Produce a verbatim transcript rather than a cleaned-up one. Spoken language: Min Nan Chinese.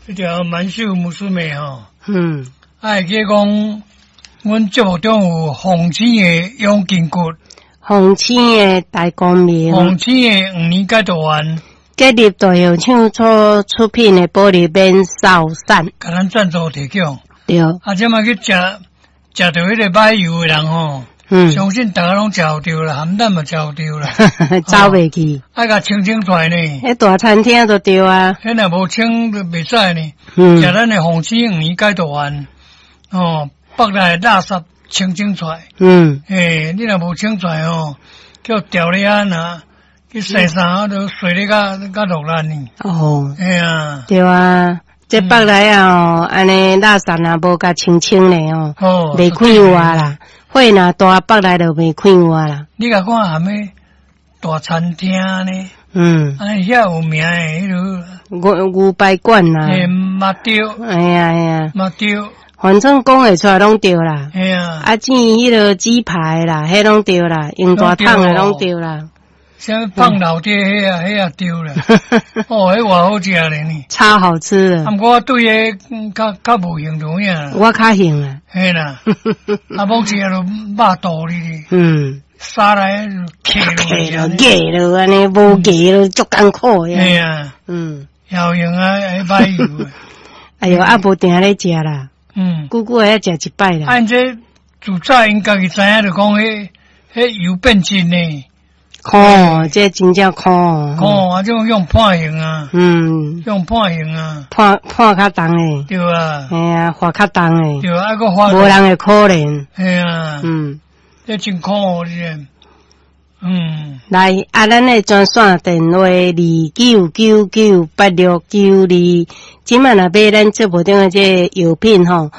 這條滿手娘吼，嗯，啊，會記講，阮節目中有鳳星的養筋骨，鳳星的大光明，鳳星的黃連解毒丸，吉立大藥廠所出品的保利免瘦散，共咱贊助提供。對，啊，這擺去食食著彼个歹油的人吼，嗯，相信逐家攏食予著啦，鹹蛋嘛食予著啦，走袂去，愛共清清出來呢。彼大餐廳就對啊，彼若無清就袂使呢。嗯，食咱的鳳星黃連解毒丸，哦，腹內垃圾清清出來。嗯，欸，你若無清出來吼，叫調咧啊若去洗衫都洗咧較較落力呢。哦，嘿啊，對啊，這腹內啊吼，按呢垃圾若無共清清咧吼，哦，袂快活啦。火若大，腹內就袂快活啦。你共看啥物大餐廳呢？嗯，啊，遐有名的彼落牛牛排館啦，嘿嘛對，哎呀哎呀，嘛對，反正講會出來攏對啦。嘿啊，啊，煎彼落雞排啦，彼攏對啦，用大桶的攏對啦。啥物放老爹彼啊，彼也對啦。哦，彼偌好食咧呢。超好吃的。啊，毋過我對彼較較無興趣影。我較興啊。嘿啦，啊，罔食就肉肚哩。嗯。沙來徛落，硬落按呢，無硬落足艱苦的。嘿啊。嗯。有用啊，彼歹油。哎喲，啊無定咧食啦。嗯。久久會食一擺啦。按這自早𪜶家己知影，就講彼彼油變質呢。苦，這真正苦。苦啊，這種用判刑啊。嗯。用判刑啊。判判較重的。對啊。嘿啊，罰較重的。對啊，啊閣罰。無人會可憐。嘿啊。嗯。這真苦哩，嗯。來，啊，咱的專線電話二九九九八六九二，這擺若買咱節目中的這個藥品吼，